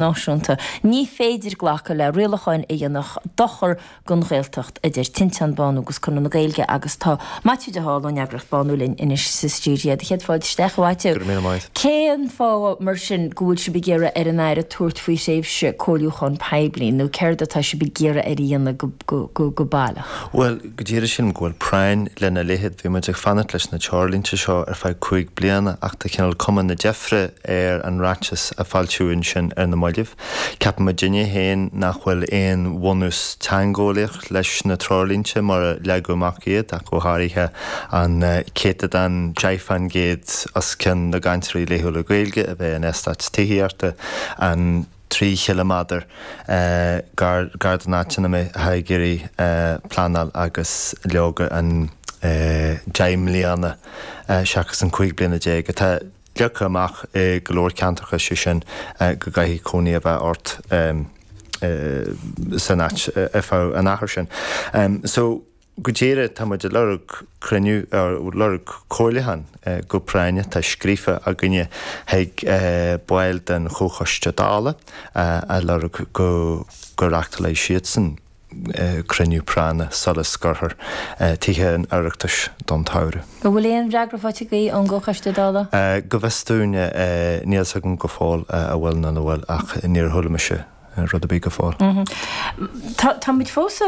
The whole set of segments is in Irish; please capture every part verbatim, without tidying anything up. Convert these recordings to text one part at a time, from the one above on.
Náisiúnta. Ní féidir glacadh le rialacháin a dhéanfadh dochar don Ghaeltacht, a deir Tinteán, Bánú agus Conradh na Gaeilge agus tá Maitiú de hÁl ón eagraíocht Bánú linn anois sa stiúideo. Céad fáilte isteach, a Mhaitiú. Go raibh míle maith. Cén fáth mar sin go bhfuil sibh ag iarraidh ar an Aire tabhairt faoi thréimhse comhairliúcháin poiblí nó céard atá sibh ag iarraidh air a dhéanamh go baileach? Bhuel, go díreach sílim go bhfuil práinn lena leithéid. Bhí muid ag fanacht leis na treoirlínte seo ar feadh cúig bliana ach tá cineál cuma na deifre ar an ráiteas a foilsíodh ansin ar na mallaibh. Ceapann muidinne féin nach bhfuil aon bhunús teangeolaíoch leis na treoirlínte mar a leagadh amach iad, ach go háirithe an céatadán deich faoin gcéad os cionn na gcainteoirí laethúla Gaeilge a bheith in eastáit tithíochta, an trí chiliméadar gar gar don áit ina mbeidh ag iarraidh pleanáil agus leoga an deich mbliana seachas an cúig bliana déag atá leagtha amach i go leor ceantracha, sé sin go gcaithfidh cónaí a bheith ort san áit ar feadh an achair sin. So go díreach tá muid ag lorg cruinniú, lorg comhairliúchán go práinneach, tá scríofa againne chuig baill den Chomhchoiste Dála ag lorg go go reáchtálfaidh siadsan cruinniú práinne sula scoirfear Tithe an Oireachtais don tsamhradh. An bhfuil aon fhreagra faighte agaibh ón gComhchoiste Dála? Go bhfios dúinn, níl 's agam go fóill a bhfuil nó nach bhfuil ach níor chuala mise rud ar bith go fóill. Tá tá muid fós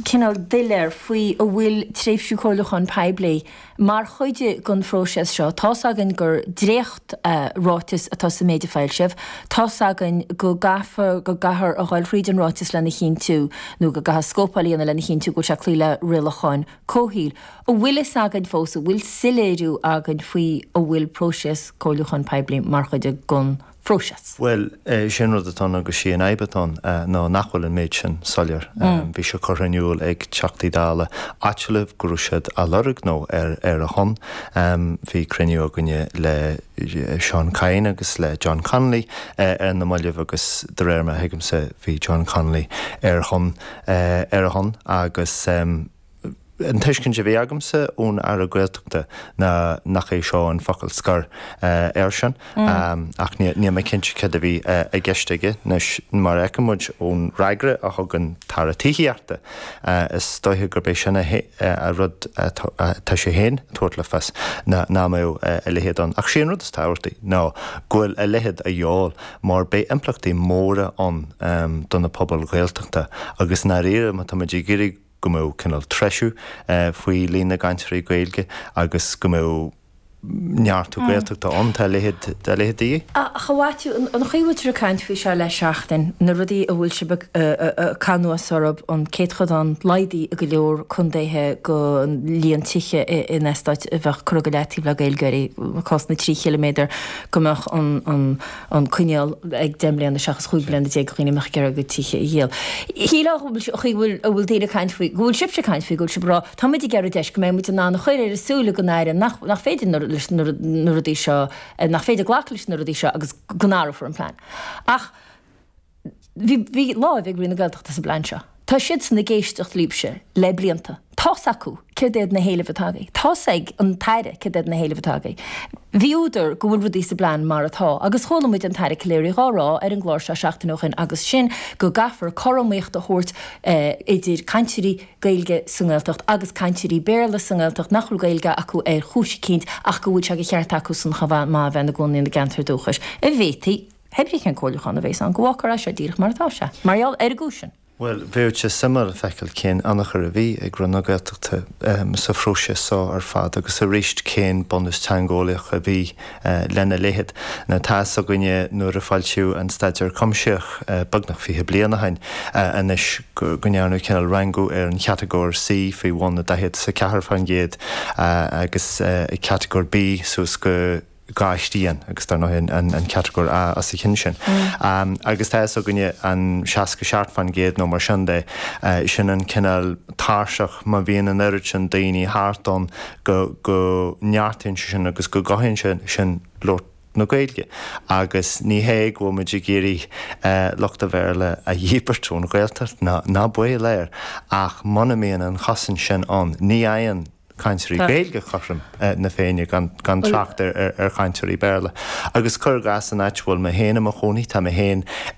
cineál doiléir faoi an bhfuil tréimhse comhairliúcháin poiblí mar chuid den phróiseas seo. Tá's againn gur dréacht ráiteas atá sa méid a foilsíodh. Tá's againn go gcaithfear go gcaithfear a dhul thríd an ráiteas lena chinntiú nó go gcaithfear scópáil a dhéanamh lena chinntiú go bhfuil sé ag cloí le rialacháin comhshaoil. An bhfuil fhios againn fós, an bhfuil soiléiriú againn faoi an bhfuil próiseas comhairliúcháin poiblí mar chuid den phróiseas? Bhuel, sin rud atá ann agus sí an fhadhb atá ann ná nach bhfuil an méid sin soiléir. Bhí sé curtha in iúl ag Teachtaí Dála áitiúla go raibh siad á lorg nó ar ar a shon. Bhí cruinniú againne le Seán Kyne agus le John Connolly ar na mallaibh agus de réir mar a thuigimse bhí John Connolly ar shon ar a shon agus an tuiscint a bhí agamsa ón Aire Gaeltachta ná nach é seo an focal scoir air sin ach níl mé cinnte cad a bhí i gceist aige. Anois mar a fheiceann muid ón fhreagra a thug an tAire Tithíochta is dóiche gurb é sin a rud atá sé féin ag tabhairt le fios ná nach mbeadh a leithéid ann. Ach sé an rud is tábhachtaí ná go bhfuil a leithéid a dhíobháil mar beidh impleachtaí móra ann do na pobail Ghaeltachta agus i ndáiríre má tá muid ag iarraidh go mbeadh cineál treisiú faoi líon na gcainteoirí Gaeilge agus go mbeadh neartú Gaeltachta ann, tá a leithéid a leithéid de dhíth. Ach a Mhaitiú, an chaoi a bhfuiltear ag caint faoi seo le seachtain, na rudaí a bhfuil sibh ag caitheamh anuas orthu, an céatadán laghdaithe i go leor contaetha den líon tithe in eastáit a bheadh curtha go leataobh le Gaeilgeoirí, cás na trí chiliméadar, go mbeadh an an coinníoll ag deich mbliana seachas chúig bliana déag do dhaoine a mbeadh ag iarraidh a gcuid tithe a dhíol. Shílfeá go bhfuil a bhfuil daoine ag caint faoi, go bhfuil sibhse ag caint faoi, go bhfuil sibh ag rá, tá muid ag iarraidh deis go mbeidh muid in ann a chur ar a súile don Aire nach nach féidir leis na rudaí seo, nach féidir glacadh leis na rudaí seo agus go n-athrófar an plean. Ach bhí bhí láimh ag Roinn na Gaeltachta sa bplean seo. Tá siadsan ag éisteacht libhse le blianta. Tá's acu céard iad na héilimh atá agaibh. Tá's ag an tAire céard iad na héilimh atá agaibh. Bhí údar go bhfuil rudaí sa bplean mar atá agus chuala muid an tAire Calleary dhá rá ar an gclár seo seachtain ó shin agus sin go gcaithfear cothromaíocht a thabhairt idir cainteoirí Gaeilge sa nGaeltacht agus cainteoirí Béarla sa nGaeltacht nach bhfuil Gaeilge acu ar chúis eicínt ach go bhfuil sé de cheart acusan chomh maith a bheith ina gcónaí ina gceantar dúchais. An bhféadfaí, pé brí cén comhairliúchán a bhéas ann, go bhfágfar é seo díreach mar atá sé, mar gheall ar an gcúis sin. Bhuel, bheadh sé suimiúil feiceáil cén ionchur a bhí ag Roinn na Gaeltachta sa phróiseas seo ar fad agus arís cén bunús teangeolaíoch a bhí lena leithéid. Now tá fhios againne nuair a foilsíodh an staidéar cuimsitheach beagnach fiche bliain ó shin anois go ndearnadh cineál rangú ar an chatagóir C faoi bhun daichead is a ceathair faoin gcéad agus catagóir B suas go dhá thrian agus dar ndóigh an catagóir A os a chionn sin. Agus tá fhios againne an seasca seacht faoin gcéad nó mar sin de, sin an cineál tairseach má bhíonn an oiread sin daoine thart ann go go neartaíonn sé sin agus go gcothaíonn sé sin labhairt na Gaeilge. Agus ní hé go bhfuil muid ag iarraidh lucht an Bhéarla a dhíbirt ón Ghaeltacht, ná ná baol air, ach muna mbíonn an chosaint sin ann, ní fhaigheann cainteoirí Gaeilge cothrom na Féinne gan, gan trácht ar, ar, ar chainteoirí Béarla. Agus cuir i gcás an áit bhfuil mé féin i mo chónaí tá mé féin